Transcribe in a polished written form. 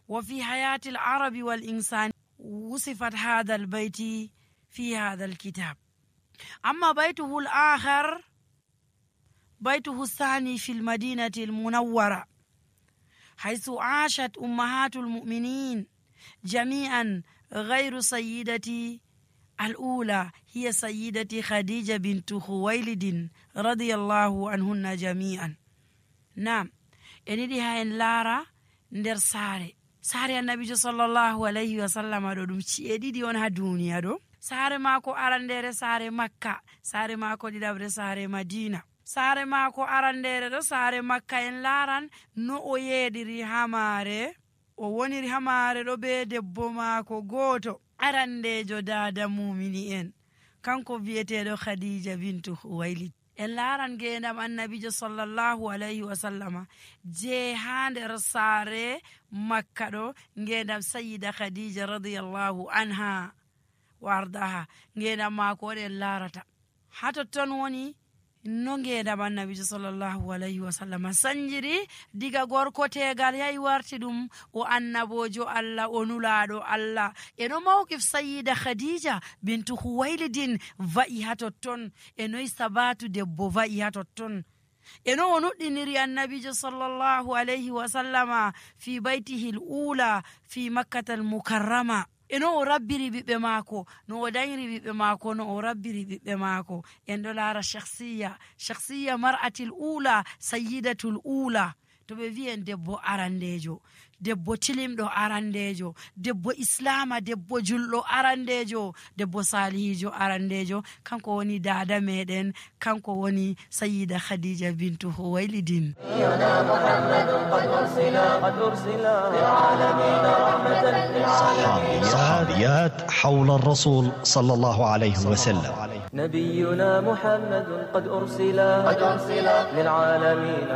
وفي حياة العرب والإنسان وصفت هذا البيت في هذا الكتاب. أما بيته الآخر بيته الثاني في المدينة المنورة، حيث عاشت أمهات المؤمنين جميعا غير سيدتي الأولى، هي سيدتي خديجة بنت خويلد رضي الله عنهن جميعا. نعم، إني هاين لارا ندر ساري النبي صلى الله عليه وسلم دum ci'edi di on ha duniya do. Sare mako arandere sare Makka, sare mako didabre sare Madina. Sare mako arandere do sare Makka en laran no o yediri hamare, o woniri hamare do be debbo mako goto arandejo dada mumini en kanko viyeteɗo Khadija bintu Khuwailid. En laran gendam annabijo sallallahu alayhi wa sallama je ha nder sare Makka ɗo, gendam sayyida Khadija radiyallahu anha wa ardaha, gendam mako waɗen larata ha totton woni no gendam annabijo sallallahu alayhi wa sallama sanjiri diga gorko tegal yahi warti ɗum o annabojo Allah, o nulaɗo Allah. eno mawqif sayyida Khadija bintu Khuwailidin va'i ha totton, enoy sabatu debbo va'i ha totton, eno o nuɗɗiniri annabijo sallallahu alayhi wa sallama fi baytihi l-ula fi makkata al-mukarrama. eno o rabbiri ɓiɓɓe maako, no o dañiri ɓiɓɓe maako, no o rabbiri ɓiɓɓe maako. en ɗo laara shakhsiya mar'atil ula, sayyidatul ula. to ɓe wi'en debbo arandejo, debbo tilimɗo arandejo, debbo islama, debbo julɗo arandejo, debbo salihijo arandejo, kanko woni dada meɗen, kanko woni sayyida Khadija bintu Khuwailidin. صحابيات حول الرسول صلى الله عليه وسلم. نبينا محمد قد أرسل للعالمين